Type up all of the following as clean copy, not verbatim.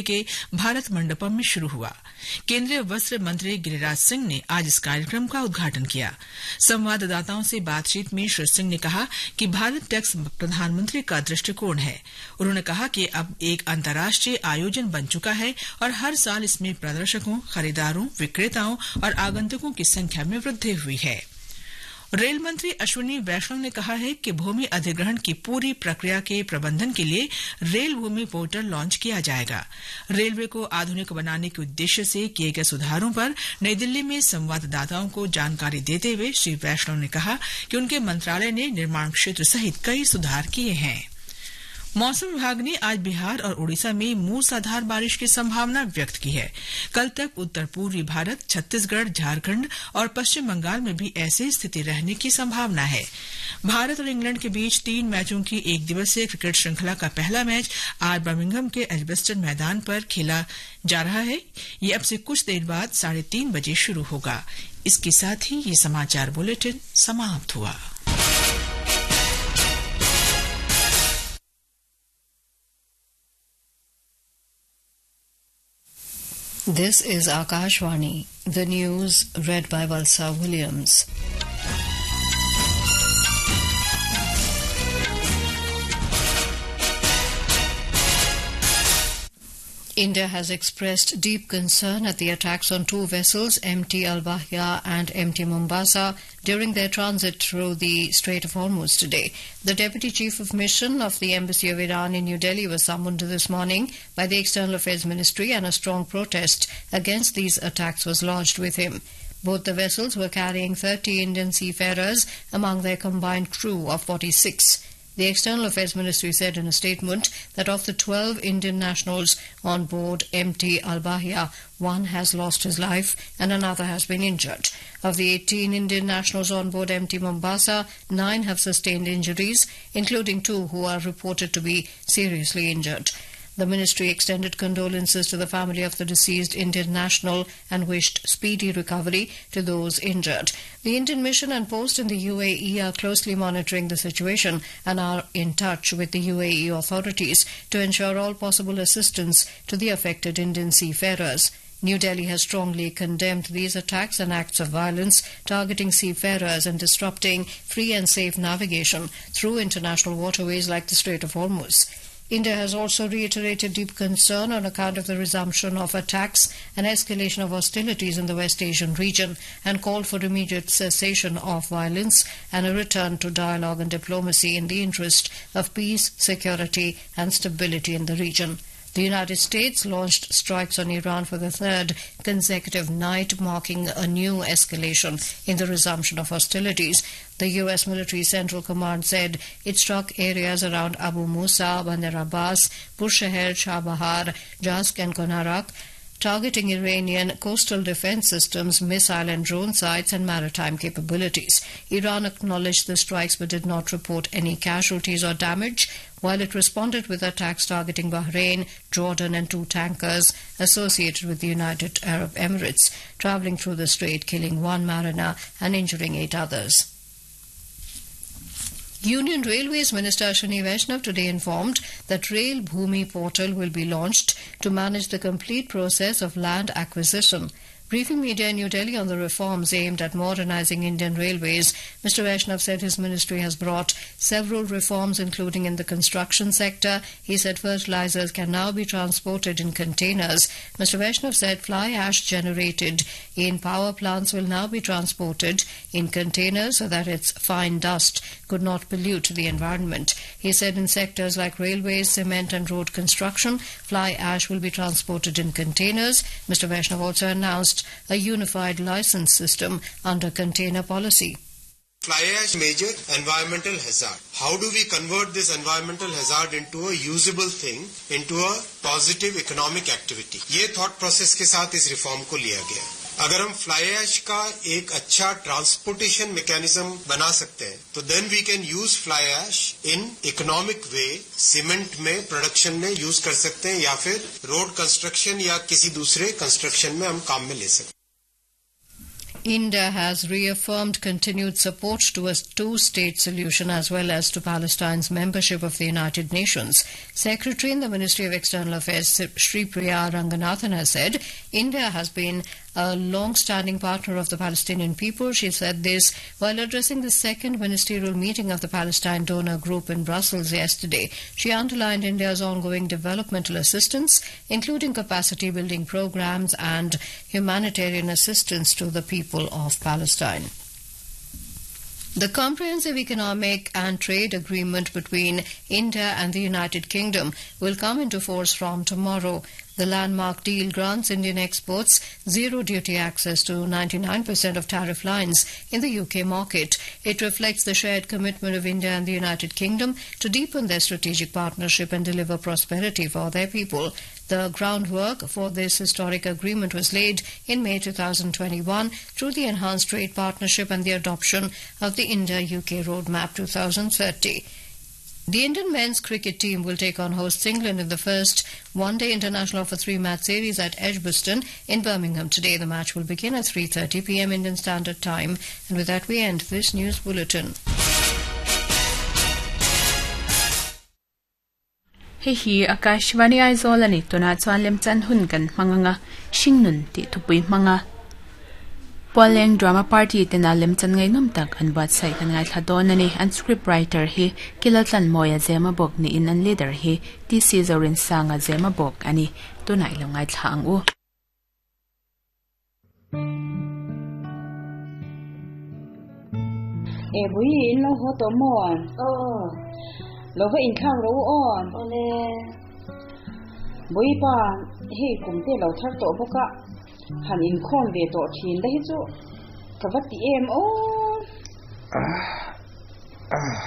के भारत मंडपम में शुरू हुआ। केंद्रीय वस्त्र मंत्री गिरिराज सिंह ने आज इस कार्यक्रम का उद्घाटन किया। संवाददाताओं से बातचीत में श्री सिंह ने कहा कि भारत टैक्स प्रधानमंत्री का दृष्टिकोण है। उन्होंने कहा कि अब एक अंतर्राष्ट्रीय आयोजन बन चुका है और हर साल इसमें प्रदर्शकों, खरीदारों, विक्रेताओं और आगंतुकों की संख्या में वृद्धि हुई है। रेल मंत्री अश्विनी वैष्णव ने कहा है कि भूमि अधिग्रहण की पूरी प्रक्रिया के प्रबंधन के लिए रेल भूमि पोर्टल लॉन्च किया जाएगा। रेलवे को आधुनिक बनाने के उद्देश्य से किए गए सुधारों पर नई दिल्ली में संवाददाताओं को जानकारी देते हुए श्री वैष्णव ने कहा कि उनके मंत्रालय ने निर्माण क्षेत्र सहित कई सुधार किए हैं। मौसम विभाग ने आज बिहार और ओडिशा में मूसलाधार बारिश की संभावना व्यक्त की है। कल तक उत्तर पूर्वी भारत, छत्तीसगढ़, झारखंड और पश्चिम बंगाल में भी ऐसी स्थिति रहने की संभावना है। भारत और इंग्लैंड के बीच 3 मैचों की एक दिवसीय क्रिकेट श्रृंखला का पहला मैच आज बर्मिंघम के एजबेस्टन मैदान पर खेला जा रहा है। ये अब से कुछ देर बाद 3:30 बजे शुरू होगा। इसके साथ ही ये समाचार बुलेटिन समाप्त हुआ। This is Akashvani, the news read by Valsa Williams. India has expressed deep concern at the attacks on two vessels, MT Al Bahia and MT Mombasa, during their transit through the Strait of Hormuz today. The Deputy Chief of Mission of the Embassy of Iran in New Delhi was summoned this morning by the External Affairs Ministry, and a strong protest against these attacks was lodged with him. Both the vessels were carrying 30 Indian seafarers among their combined crew of 46. The External Affairs Ministry said in a statement that of the 12 Indian nationals on board MT Al Bahia, one has lost his life and another has been injured. Of the 18 Indian nationals on board MT Mombasa, 9 have sustained injuries, including 2 who are reported to be seriously injured. The ministry extended condolences to the family of the deceased Indian national and wished speedy recovery to those injured. The Indian mission and post in the UAE are closely monitoring the situation and are in touch with the UAE authorities to ensure all possible assistance to the affected Indian seafarers. New Delhi has strongly condemned these attacks and acts of violence targeting seafarers and disrupting free and safe navigation through international waterways like the Strait of Hormuz. India has also reiterated deep concern on account of the resumption of attacks and escalation of hostilities in the West Asian region and called for immediate cessation of violence and a return to dialogue and diplomacy in the interest of peace, security and stability in the region. The United States launched strikes on Iran for the third consecutive night, marking a new escalation in the resumption of hostilities. The U.S. Military Central Command said it struck areas around Abu Musa, Bandar Abbas, Bushehr, Chabahar, Jask and Konarak, targeting Iranian coastal defense systems, missile and drone sites, and maritime capabilities. Iran acknowledged the strikes but did not report any casualties or damage, while it responded with attacks targeting Bahrain, Jordan, and 2 tankers associated with the United Arab Emirates, traveling through the strait, killing 1 mariner and injuring 8 others. Union Railways Minister Ashwini Vaishnav today informed that Rail Bhumi portal will be launched to manage the complete process of land acquisition. Briefing media in New Delhi on the reforms aimed at modernizing Indian railways, Mr. Vaishnav said his ministry has brought several reforms, including in the construction sector. He said fertilizers can now be transported in containers. Mr. Vaishnav said fly ash generated in power plants will now be transported in containers so that its fine dust could not pollute the environment. He said in sectors like railways, cement and road construction, fly ash will be transported in containers. Mr. Vaishnav also announced a unified license system under container policy. Fly ash, major environmental hazard. How do we convert this environmental hazard into a usable thing, into a positive economic activity? ये thought process के साथ इस reform को लिया गया। अगर हम fly ash का एक अच्छा ट्रांसपोर्टेशन मैकेनिज्म बना सकते हैं तो then we can use fly ash in economic way, cement में प्रोडक्शन में यूज कर सकते हैं या फिर रोड कंस्ट्रक्शन या किसी दूसरे कंस्ट्रक्शन में हम काम में ले सकते हैं। India has reaffirmed continued support to a two-state solution as well as to Palestine's membership of the United Nations. Secretary in the Ministry of External Affairs Sripriya Ranganathan has said India has been a long-standing partner of the Palestinian people. She said this while addressing the second ministerial meeting of the Palestine Donor Group in Brussels yesterday. She underlined India's ongoing developmental assistance, including capacity building programs and humanitarian assistance to the people of Palestine. The Comprehensive Economic and Trade Agreement between India and the United Kingdom will come into force from tomorrow. The landmark deal grants Indian exports zero duty access to 99% of tariff lines in the UK market. It reflects the shared commitment of India and the United Kingdom to deepen their strategic partnership and deliver prosperity for their people. The groundwork for this historic agreement was laid in May 2021 through the Enhanced Trade Partnership and the adoption of the India-UK Roadmap 2030. The Indian men's cricket team will take on hosts England in the first one-day international of a three-match series at Edgbaston in Birmingham today. The match will begin at 3:30 p.m. Indian Standard Time. And with that, we end this news bulletin. Hei hi Akashvani Aizawl a ni. Tunah chuan lemchan hun kan hmang anga Hringnun tih thupui hmanga Pualleng Drama Party tena lemchan ngaihnawm tak an buatsaih kan ngaithla dawn a ni. An script writer hi Kilaltlanmawia Zemabawk niin an leader hi TC Zorinsanga Zemabawk a ni. Tunah i lo ngaithla ang u. E bui in lo haw tawh maw? Aw. Lo va inthlak rawh u aw. Awle. Bui pa, hei kum te lo thar tawh bawk a, han inkhawm ve tawh thin la hi chu ka va ti em aw. Ah, ah,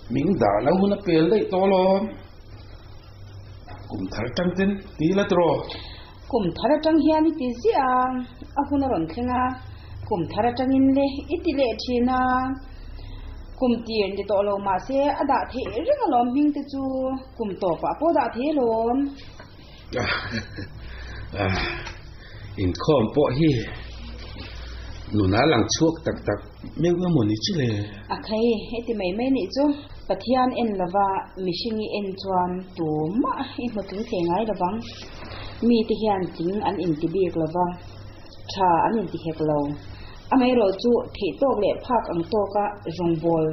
min dah lo hun a pel daih tawh alawm. Kum thar tang ten ti la tiraw? Kum thar atang hian i ti ziah a, a hun a rawn thleng a, kum thar atangin le i ti leh thin a. Kum tir ni tawh lo mahse a dah theih reng alawm hming te chu kum tawpah pawh dah thei alawm. Inkhawm pawh hi nuna lang chhuak tak tak meuh emaw ni chu le? A khai, heti mai mai nih chu Pathian en lova mihring i en chuan tumah i hmu tling thei ngai lovang. Mite hian tling an inti bik lova, tha an inti hek lo. Amaherawh chu theih tawk leh phak ang tawka rawngbawl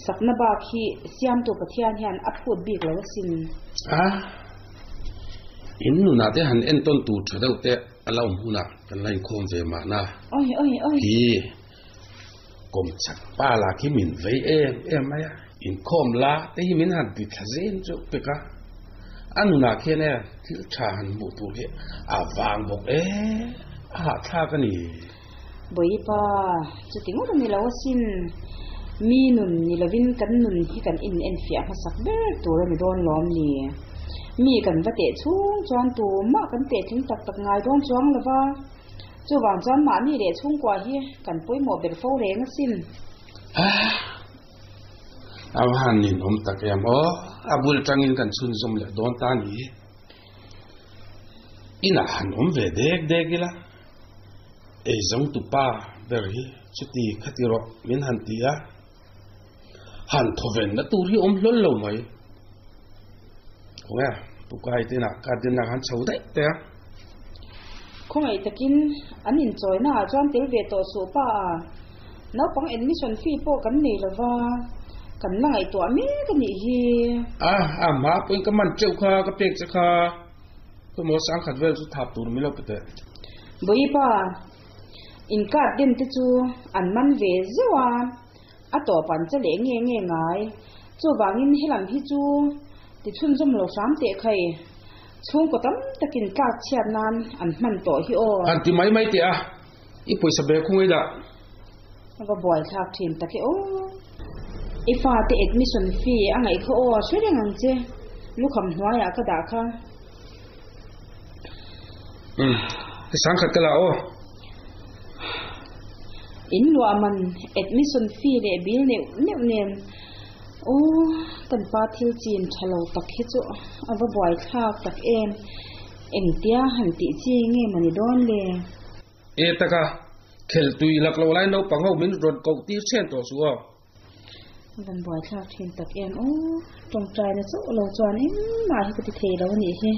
Sakna bak hi Siamtu Pathian hian a phut bik lo asin. A, in nunah te han entawn tur tha deuh te a la awm hunah kan la inkhawm ve mahna. Oi, oi, oi. Hi, kawmchak pa lah khi min vei em em mai a, inkhawm la te hi min han ti thla zen chu pek a, a nunah khian e thil tha han hmuh tur hi a vang bawk e, a hahthlak a ni. Bawipa, chuti ngawt a ni lo asin. Mi nun ni lovin kan nun hi kan in enfiah hmasak ber tur a ni dawn lawm ni? Mi kan va teh chhung chuan tumah kan teh tling tak tak ngai dawn chuang lo va. Chuvang chuan mahni leh chhungkua hi kan pawimawh ber fo reng asin. A va han ninawm tak em aw, a bul atangin kan chhunzawm leh dawn ta ni. Inah han awm ve dek dek ila. Eizawngtu pa ber hi chuti khati rawh min han ti a, han thawvenna tur hi awm hlawl lo mai. Khawnge Pukai te inah garden ah khan chho daih teh a. Khawngaih takin an inchawina ah chuan tel ve tawh suh pa a, naupang admission fee pawh kan nei lova, kan la ngaihtuah mek a nih hi. A, a hma pawhin ka man teuh kha, ka pek che kha. Khawmaw sangkhat vel chu thap tur milo pe teh. Bawipa, in card den te chu an man ve zeuh a, a tawp an che leh nge nge ngai. Chuvangin helam hi chu ti chhunzawm lo hram teh khai. Chhungkaw tam takin tlak chhiat nan an hman tawh hi aw. Han ti mai mai teh a, i pawisa bag khung ei dah. Va buaithlak thin tak e aw. I fate admission fee a ngaih kha aw hre reng ang che. Lukham hnuaiah ka dah kha. Umm, ka sangkhat ka la aw. In luah man admission fee leh bill neuh neuh nen aw kan pa thil chin tha lo tak hi chu a va buaithlak tak em. Engtia han tih chi nge mawni dawn le? E taka. Khel tui lak lo lai naupang ho min rawn koh tir chhen tawh suh aw. Van buaithlak thin tak em aw. Tawngtaina chauh lo chuan engmah hi ka ti thei lo a nih hi.